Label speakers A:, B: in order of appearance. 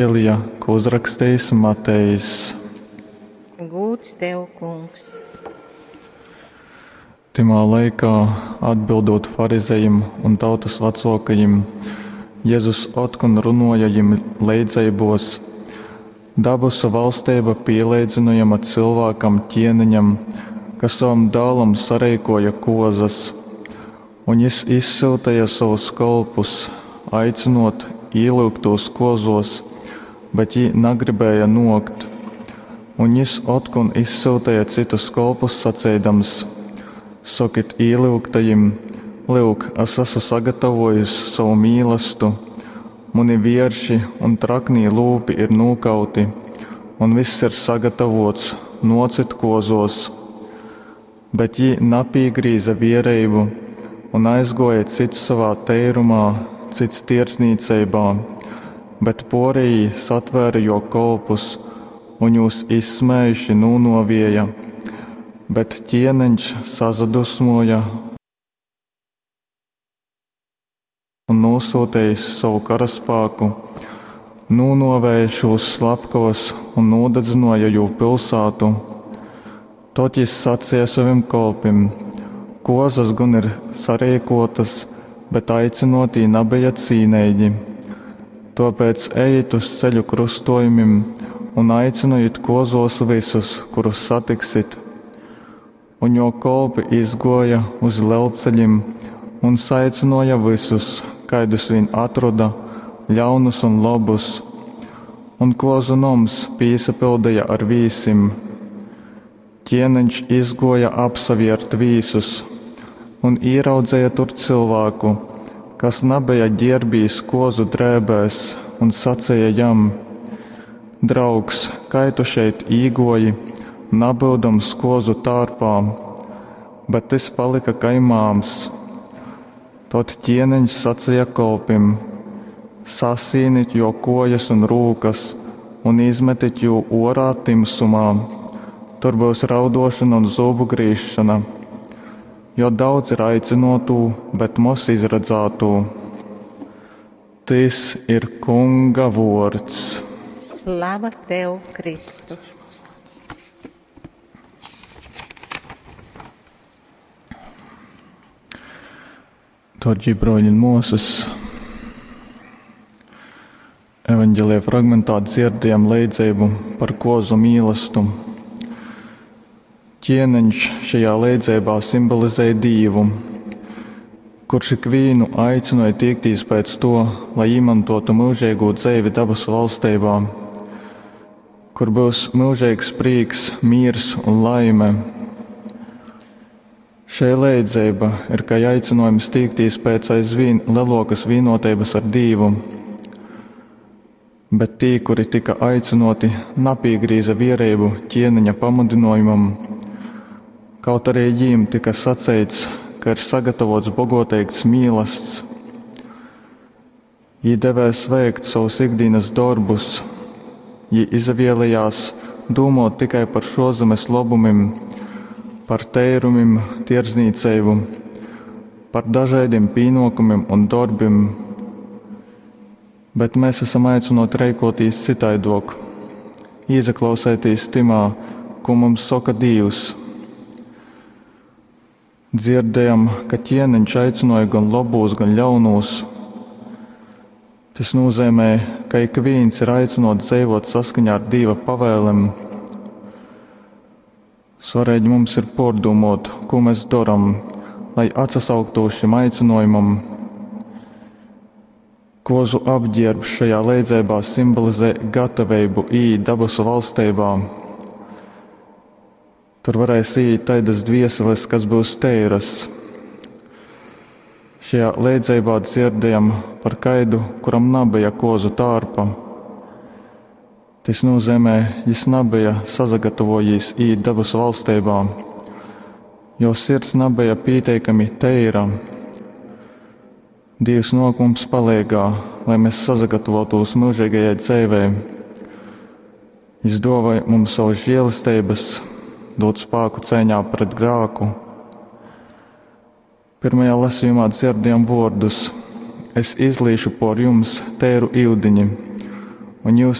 A: Evangelija, ko uzrakstījis Matejs.
B: Gūds tev, kungs!
A: Tymā laikā, atbildot farizejim un tautas vecōkajim, Jezus otkon runuoja jim leidzeibos. Dabasu valsteiba pīleidzynojama cylvākam ķieneņam, kas sovam dālam sareikoja kozas, un jis izsyuteja sovus kolpus, aicynot īlyugtūs kozos, bet jī nagribēja nuokt. Un jis otkon izsyuteja cytus kolpus saceidams: Sokit īlyugtajim, lyuk, es esmu sagatavojis sovu mīlastu, muni vierši un traknī lūpi ir nūkauti, un viss ir sagatavots, nuocit kozos. Bet jī napīgrīza viereibu un aizguoja cits sovā teirumā, cits tierdznīceibā, bet porejī satvēra juo kolpus un jūs izsmējuši nūnuovieja. Bet ķieneņš sasadusmuoja un nūsūtējis sovu karaspāku, nūnuovēja šūs slepkavas un nūdadzynuoja jū pilsātu. Tod jis saceja sovim kolpim: Kozas gon ir sareikotas, bet aicynotī nabeja cīneigi. Tuopēc ejit uz ceļu krustojumim un aicynojit kozos vysus, kurus satiksit. Un jo kolpi izguoja uz lelceļim un saicynuoja vysus, kaidus vīn atroda, ļaunus un lobus. Un kozu noms pīsapildeja ar vīsim. Ķieneņš izguoja apsaviert vīsus un īraudzeja tur cylvāku, kas nabeja ģierbīs kozu drēbēs, un saceja jam: Draugs, kai tu šeit īguoji, nabyudams kozu tārpā? Bet tys palika kai māms. Tod ķieneņš saceja kolpim: Sasīnit juo kuojas un rūkas un izmetit jū uorā tymsumā. Tur byus rauduošona un zūbu grīzšona. Jo daudz ir aicynuotū, bet moz izradzātū. Tys ir Kunga vuords.
B: Slava tev, Kristu!
A: Dārgie broļi un muosas, evaņģēlija fragmentā dzirdējam leidzeibu par kozu mīlestu. Ķieneņš šajā leidzeibā simbolizē Dīvu, kurš ikvīnu aicināja tiekties pēc to, lai īmantotu mūžīgo dzeivi dabasu valstībā, kur būs mūžīgs prieks, miers un laime. Šei leidzeiba ir kā aicinājums tiekties pēc aizvien lielākas vienoteibas ar Dīvu. Bet tī, kuri tika aicinoti, napīgrīza viereibu ķieneņa pamudinojumam, kaut arī jīm tika saceits, ka ir sagatavots bogoteigs mīlasts. Jī devēs veikt savus ikdienas darbus, jī izavielējās dūmot tikai par šozemes lobumim, par teirumim, tierdznīceibu, par dažādiem pīnokumiem un darbim. Bet mēs esam aicinoti reikotīs citaidok, iezaklausētīs timā, ko mums saka Dīvs. Dzirdējam, ka ķieneņš aicināja gan labūs, gan ļaunūs. Tas nozīmē, ka ik viens ir aicinots dzīvot saskaņā ar Dieva pavēlēm. Svarīgi mums ir pārdomot, ko mēs darām, lai atsasauktos šim aicinājumam. Kozu apģērbs šajā leidzeibā simbolizē gatavību iet dabasu valstībā. Tur varēs iet taidas dvieseles, kas būs teiras. Šajā leidzeibā dzirdējam par kaidu, kuram nabeja kozu tārpa. Tas nozīmē, jis nabeja sazagatavojis īt dabasu valstībā, jo sirds nabeja pieteikami teira. Dievs nāk mums palīgā, lai mēs sazagatavotos mūžīgajai dzīvei. Jis dāvāja mums savas žēlastības, dod spēku cīņā pret grāku. Pirmajā lasījumā dzirdējam vārdus: Es izlīšu por jums tēru iudiņi, Un jyus.